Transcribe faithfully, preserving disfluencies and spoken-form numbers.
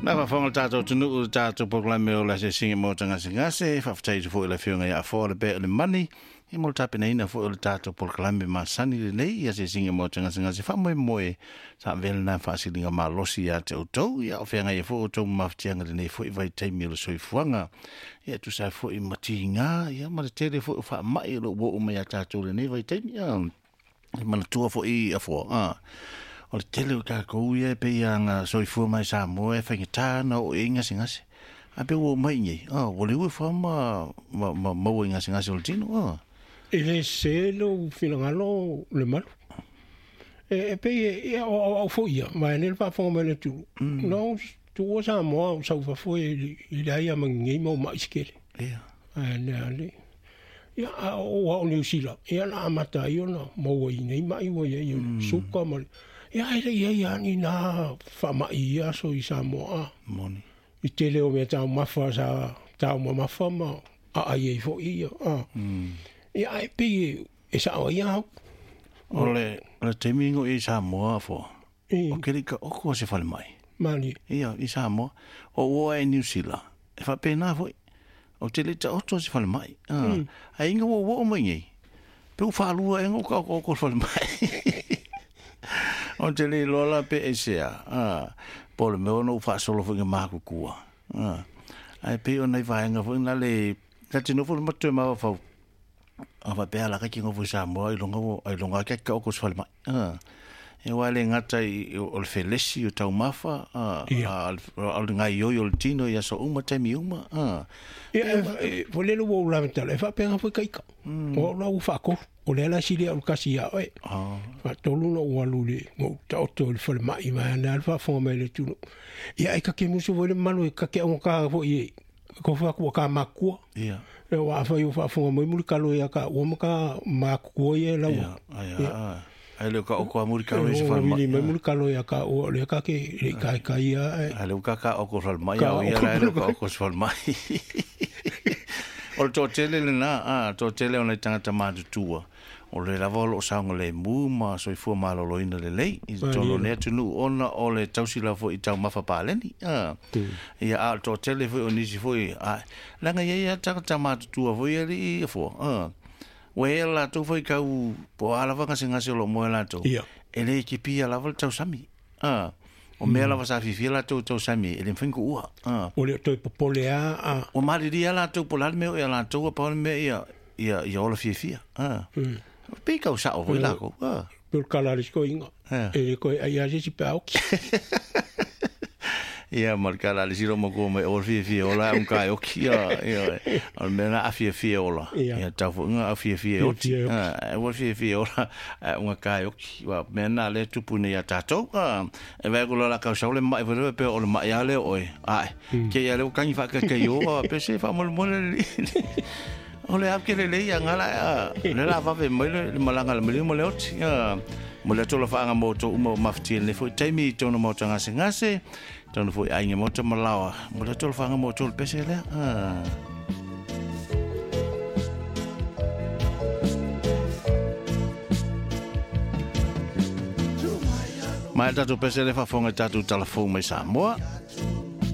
Na faafofoga le tatou atunuu i le tatou polokalame o le asiasiga mo tagasigase, faafetai atu foi i le afioga ia Afoa le Pea o le Mani, ia mo le tapenaina foi o le tatou polokalame masani lenei i asiasiga mo tagasigase faamoemoe sa avea lena faasiliga malosi ia te outou, ia o feagai ai foi outou ma mafatiaga i lenei foi vaitaimi o le soifuaga. Ia tusa ai foi ma tiga, ia ma le tele foi o faamai o lo o ua oo mai ia tatou i lenei vaitaimi. Ia e manatua foi Afoa, a o le tele o tatou ia e pei lava na soifua mai Samoa e faigata ona oo i ai gasegase. Ae pe ua oo mai i inei, a ua liu ifo lava ma, ma, ma maua i gasegase o le tino. A. E le sese lou finagalo le malu. E, e pei e, ia, o au, au foi ia, vaeane le faafofoga mai a le atunuu. Mm. Na ou tuua Samoa ou sau i fafo e, i leai lava ma ni nei mau ma'i se tele. Ia. Ae le ale. Ia, a oo lava o Niu Sila, ia na amata ai ona maua i nei ma'i ua i ai o le suka ma le... Ia, ae le i ai lava ni nā faamai i ia aso i Samoa. A. Moni. I tele o mea taumafa sa taumamafa ma aai ai foi ia. A. Mm. Ia, ae pei e, e sa'o ai au. O le, o le taimi ina o i Samoa, Afoa, I, o ke lika oko o se falemai. Mali. Ia, i Samoa. O ua e Niu Sila, e faapena foi. O te le taoto o se falemai. Ah. Mm. Ai inga ua ua o mai nei. Pe u whaalua e ngō ka oko oko falemai. O te le iloa la pe e sea. Ah. Po o le mea ona u faasolo foi nga makukua. Ah. Ai pe o nei vaenga foi na le... Na te nofo le matu e mawaw. A whapea la kaki ngofo i Samoa i longa wo, ai longa kaki ka oko se falemai. Ah. E wā le ngata i, o le felesi o taumafa, ah, Ia. a, o le ngai oi o le tino i aso uma, taimi uma. Ah. Ia, e, e, fo lele ua ou lavetala, e faapega foi kaika. Mm. O au la ua faatolu. O lea la sili au le kasi iā oe. Ah. Faatolu na ou alu i le ma ou taoto i le falemai vaeane a le faafofoga mai le atunuu. Ia, e kake musu foi le mamalu e kake augata foi e kofa atu ua ka makua. Ia. E ua afai o faafofoga mai mulikalo ia ka ua ma ka makukua ia e laua. Ia, ai, Ia. ai, ai le ka oko a muri E kalo i se o falemai. vili mai mulikalo ia ka ua o lea kake le i kaikai ia e. Ai le uka ka oko falemai, Ka au ia oko la le ka falemai. oko se falemai. O le toatele lena, a, toatele o nai tagata matutua. O le lava o loo saoga lemu ma soifua malōlōina lelei i totonu o Malie. lenei atunuu ona o le tausi lava foi i taumafa paleni. A. Mm. Ia, a o le toatele foi o nisi foi, a, leaga e i ai lava tagata matutua foi alii Afoa. A. Ua i ai latou foi kau, po o a lava gasegase o loo moe latou. Ia. E le kipia lava le tausami. A. O mea lava sa fiafia latou i tausami, e le mafai ona kuua. A. O le o toe popole a, a. Ua malilia latou po o le a le mea o ia latou, a pau le mea ia, ia, ia ola fiafia. A. Mm. Pei kau sa'o foi E, lakou. A. pe o le kala a le sikoiga. Ia. E le koe ai a se isi pe a oki. Ia ma le kala a le silo makua mai o le fiafia ola e unga e oki. Ia, ia, o le mea na a fiafia ola. Ia. Ia tau foi nga a fiafia e oti. Fiafia e oki. A, e ua fiafia ola, e unga ka e oki. Ua mea na le tupu nei ia tātou. A, e vai ko lola kau sau le mai foi pe o le mai a le oe. Ai, Mm. ke ia le o kangi whakakai o, a, pe se whamolemole le li. O le ap ke le lei a ngala, a, le la wawe mai le, le malanga le mali mo le oti. A, mo le atola whaanga mō tō uma o mawhiti le foi taimi i tōna mō tā ngase ngase, tōna foi ainga mō tā malawa. Mo le atola whaanga mō tō le pese lea. A. Mai tatou pese le faafofoga i tatou talafou mai Samoa.